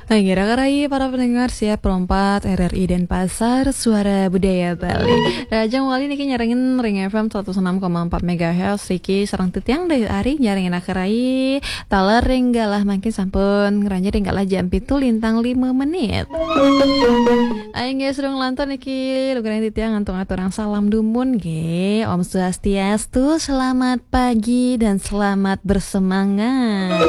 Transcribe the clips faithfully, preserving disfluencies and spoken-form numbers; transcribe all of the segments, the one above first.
Hai, kira-kira para pendengar siap perompat R R I Denpasar, Suara Budaya Bali. Rahajeng malih niki nyarengin ring F M seratus enam koma empat megahertz, niki sareng titiang Dayu Ari nyarengin akerai, taler ring galah mangkin sampun ngranjing ring galah jam pitu lintang lima menit. Inggih, sareng lantur niki lugrayang titiang antuk aturang salam dumun nggih. Om Swastiastu, selamat pagi dan selamat bersemangat.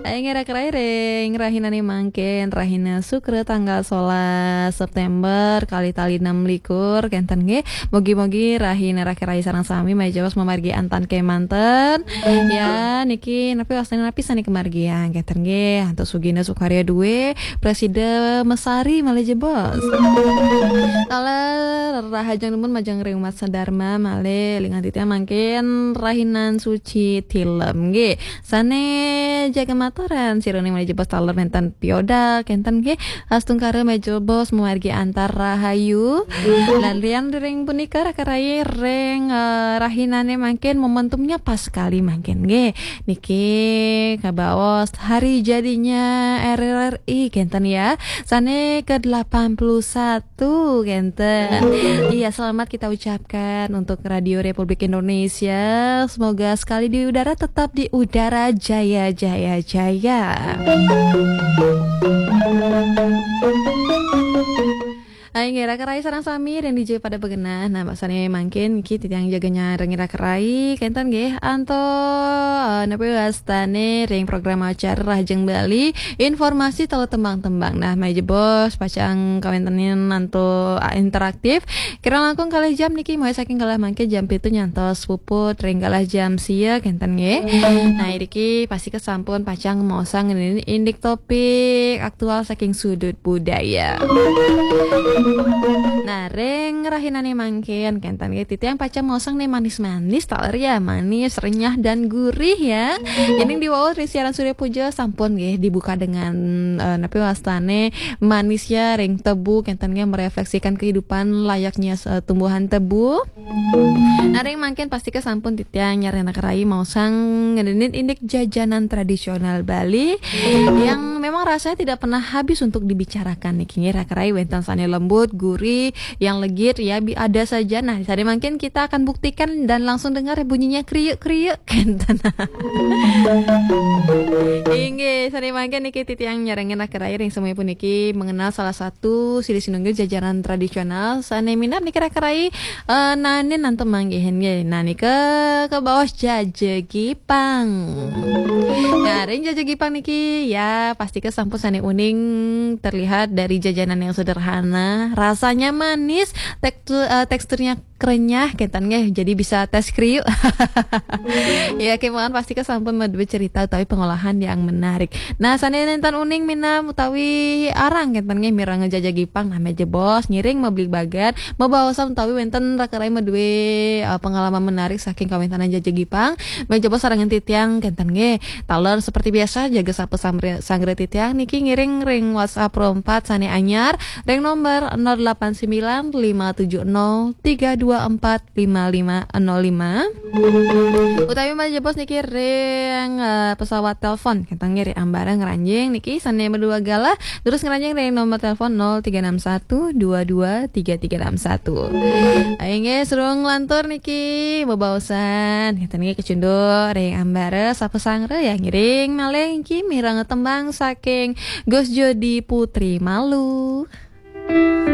Inggih, akerai ring rahinane mangkin, rahina Sukra tanggal solas September, kalih tali enam likur, kenten nggih. Mugi-mugi rahina akerai sareng sami malih jebos mamargi antan kemanten. Ya, niki napi wastane napi sane kamargiang, kenten nggih. Antuk sugina sukarya duwe, prasida mesari malih jebos. Taler rahajeng dumun majeng ring umat sadharma malih, lingan titiang mangkin rahinan suci tilem nggih. Sane jaga mataran sirone malih jebos taler nenten piodal, kenten nggih. Astungkara malih jebos mamargi antar rahayu. Lan lian ring punika akerai ring, eh, rahinane mangkin momentumnya pas sekali mangkin nggih. Niki kabaos hari jadinya R R I, kenten ya. Sane ke delapan puluh satu, kenten. Iya, selamat kita ucapkan untuk Radio Republik Indonesia. Semoga sekali di udara, tetap di udara, jaya, jaya, jaya. Inggih, akerai sareng sami ring dija pada begenah. Nah, sane mangkin niki titiang jaga nyarengin akerai, kenten nggih, antuk, eh, napi wastane ring program acara Rahajeng Bali, informasi taler tembang-tembang. Nah, malih jebos pacang kawentenin antuk, eh, interaktif. Kirang langkung kalih jam niki, mulai saking galah mangkin jam pitu nyantos puput ring galah jam sia, kenten nggih. Nah, iriki pastika sampun pacang maosang ngenenin indik topik aktual saking sudut budaya. Nah, ring rahinane mangkin, kenten nggih, titiang pacang maosang ne manis-manis, taler ya, manis, renyah, dan gurih ya. Yening diwaos ring siaran Surya Puja sampun nggih dibuka dengan, eh, napi wastane manisnya ring tebu, kenten nggih, merefleksikan kehidupan layaknya, eh, tumbuhan tebu. Nah, ring mangkin pastika sampun titiang nyarengin akerai maosang ngenenin indik jajanan tradisional Bali yang memang rasanya tidak pernah habis untuk dibicarakan niki nggih, akerai, wenten sane lembut, gurih, yang legit ya, bi-, ada saja. Nah, sane mangkin kita akan buktikan dan langsung dengar ya bunyinya kriuk-kriuk, kenten. Inggih, sane mangkin niki titiang nyarengin akerai ring sami puniki mengenal salah satu silih sinunggil jajanan tradisional sane minab niki akerai, eh, naenin antuk manggihin nggih. Nah, nika kabaos jaja gipang. Nah, ring jaja gipang niki ya pastika sampun sane uning terlihat dari jajanan yang sederhana, rasanya manis, tektu-, eh, teksturnya krenyah, kenten nggih, jadi bisa tes kriuk. Ya, kemawon pastika sampun madue cerita utawi pengolahan yang menarik. Nah, sane nenten uning minab utawi arang, kenten nggih, mireng jaja gipang, nah, malih jebos ngiring mabligbagan, mabaosan utawi wenten akerai madue, eh, pengalaman menarik saking kawentanan jaja gipang, malih jebos sarengin titiang, kenten nggih. Taler seperti biasa, jaga sapa samre-, sanggra titiang niki ngiring ring WhatsApp Pro empat sane anyar, ring nomor nol delapan sembilan lima tujuh nol tiga dua empat lima lima nol lima. Utawi malih jebos niki ring, eh, pesawat telepon, kenten nggih, ring ambara ngranjing niki sane madue galah, terus ngranjing ring nomor telepon nol tiga enam satu dua dua tiga tiga enam satu. Inggih, sareng lantur niki bebaosan, kenten nggih, kecunduk ring ambara sapa sanggra ya, ngiring malih niki mireng tembang saking Gus Jodi Putri Malu.